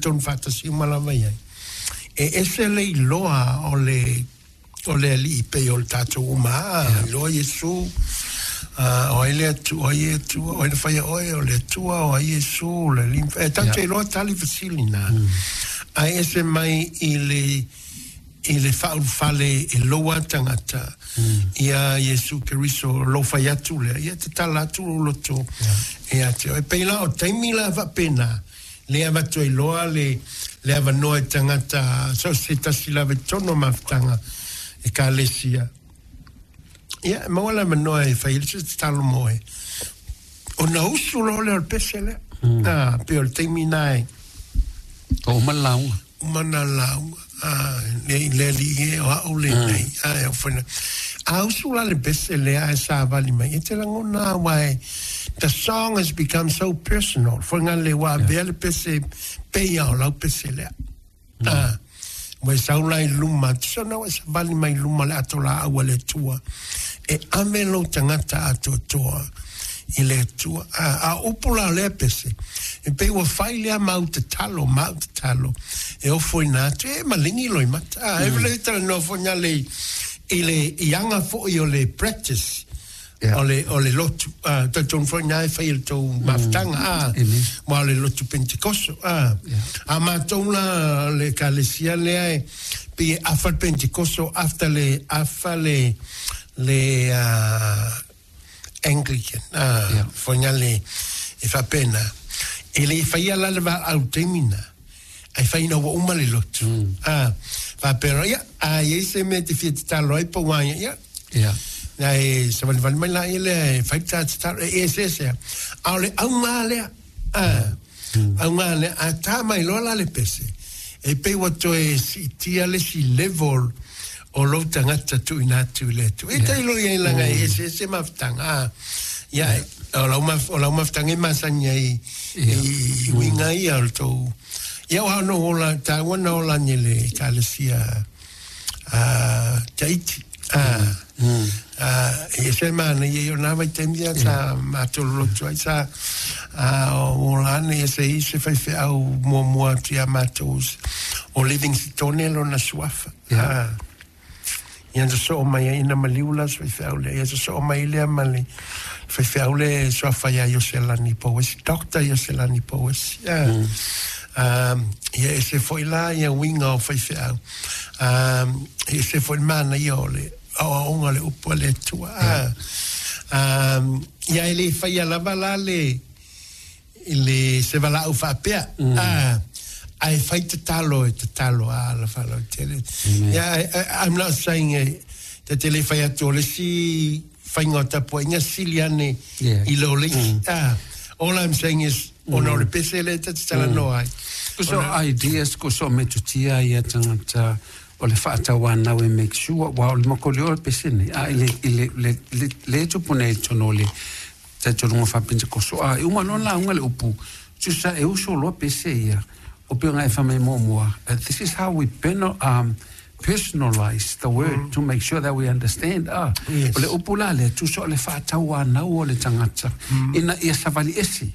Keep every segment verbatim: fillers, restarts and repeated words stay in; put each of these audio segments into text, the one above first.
Tonu faatasi uma lava i ai. E ese le iloa o le o le Alii pei o le tatou uma a iloa Iesu, o ai le Atua, o ai e Atua, o ai na faia oe, o le Atua, o ai Iesu, le Alii. E tatou te iloa tali fesili na. Ae ese mai i le i le faaulufale e loua tagata ia Iesu Keriso lou fai atu lea, ia tatala atu lou loto ia te oe. E pei la o taimi la faapena, le avatu ai loa le le avanoa i tagata so se tasi lava i totonu o mafutaga ekalesia. Ia, e maua le avanoa e fai ai se tatalo mo oe. Ona usu loa lea o le pese lea. Ah, pei o le taimi lena e Ua uma le lauga. Uma na lauga. Ah, le le alii e o au lenei. Ah, e ofo ina. A usu la le pese lea ae savali mai, e te lagona aua e the song has become so personal. Foi nga le ua avea le pese pei a o lau pese lea. Ah, ua e sau la i luma, tusa ona ua e savali mai i luma o le ato laau a le Atua, e ave lou tagata atoatoa i le Atua. A, a o upu la o lea pese, e pei ua fai lea mau tatalo, mau tatalo, e ofoina atu, e maligi loimata. A, e le talanoa foi nga le i le i aga foi o le practice Yeah. o le o le lotu. Ah, talitonu foi na e fai i le tou mafutaga, ah, Amen. ma o le lotu Pentekoso. Ah, a matou la le ekalesia lea e pei e afa le Pentekoso after le afa le le ah, Anglican. Ah, Yeah. foi nga le e faapena. E le faia la le valaau taimi na. Ai fai ina ua uma le lotu. Ah, faapea, ia, a i ai se mea e te fia tatalo ai po o ua ia, Yeah. na e savalivali mai laia lea e fai ta tatalo, e eseese. A o le auga lea, ah, auga lea, a tā mai loa la le pese, e pei ua toe siitia le isi level o lou tagata tuuina atu i le Atua. E tailo i ai laga e eseese mafutaga. Ah, ia, o lau maf- o lau mafutaga e masani ai i i uiga ia o le tou. Ia o no ola, tāua na ola ni le ekalesia ah, Tahiti. Ah, ah, e se mana ia o nā vaitaimi ia sa mātou lolotu ai sa ah, o ola ane e se i se faifeau muamua atu ia mātou o Livingstone lona suafa. Yeah. Ah, ia na sosoo mai ai ina maliu la se faifeau lea. Ia sosoo mai lea ma le faifeau lea e suafa ia Ioselani Pouesi, Doctor Ioselani Pouesi. Ah. Um, ia ese foi la ia uiga o faifeau. Um, ese foi le manaia o le aoaoga o le upu a le Atua. Ah. Um, ia e le faia lava la le le se valaau faapea. Ah, ae fai tatalo e tatalo a la faalotele. Yeah, I, I, I'm not saying eh, te te le fai atu o le isi faiga o tapuaiga sili ane Yeah. i lo le isi. Ah, all I'm saying is, ona o le pese lea ta te talanoa ai. Ko so ideas, ko so metotia ia tagata o le faatauanau e make sure, ua o le makoli o le pese nei, a i le, i le, le, le, le tupu nei i totonu o le talitonuga faapentekoso, a e uma loa lauga le upu, tusa e uso loa pese ia, o pei ona e fai mai muamua, uh, this is how we penal, um, personalize the word to make sure that we understand. Ah, Yes. o le upu la lea, tusa o le faatauanau o le tagata, ina ia savali ese.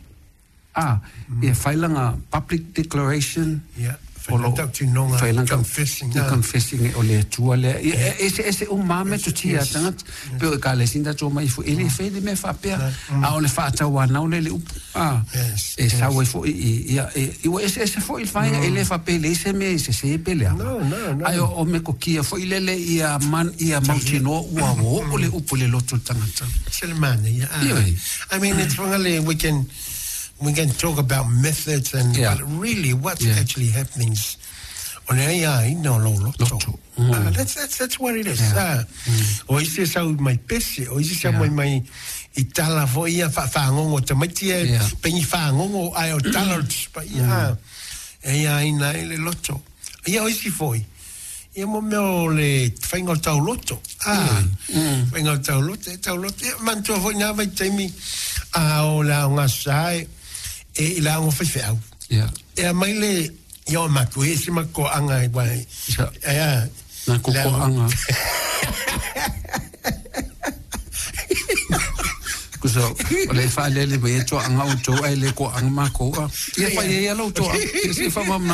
Ah, ia fai laga public declaration. Yeah. O lo- Failatautinoga, fai laga- confessing, the ah. confessing o le Atua lea. Ia, e eseese uma lava metotia a tagata. Pei o ekalesia tatou omai foi, e le fai le mea faapea. A o le faatauanau lea i le upu. Ah, Yes, e sau ai foi i, ia, e, i ua eseese foi le faiga, e le faapea e leai se mea e sesē pe leaga. No, no, no. Ae o, o metotia foi lele ia man, ia mautinoa ua oo le upu i le loto o le tagata. Se le manaia. Ah. Ioe. I mean, it's really, we can we can talk about methods and Yeah. but really what's Yeah. actually happening is o le aiaina o lou loto. Loto. Ah, that's, that's, that's what it is. Yeah. Ah. O isi e sau mai pese, o isi sau Yeah. mai mai i tala foi ia faafagogo tamaiti e Yeah. pei fagogo ae o tala o le Tusi Paia. Ah. E aiaina ai le loto. Ia o isi foi, ia mo mea o le faiga o tauloto. Ah, faiga o tauloto, e tauloto. Ia, manatua foi nā vaitaimi a o le aoga sa e, e i le aoga faifeau. Yeah. E aumai le, ia o matou, e ese ma koaga e wai. Ia. E a, Na kokoaga. Ko Tusa o le faalele mai e toaga outou ae le toaga makou a. Ia fai ai ia lau toaga. Ia se i faamalamalama.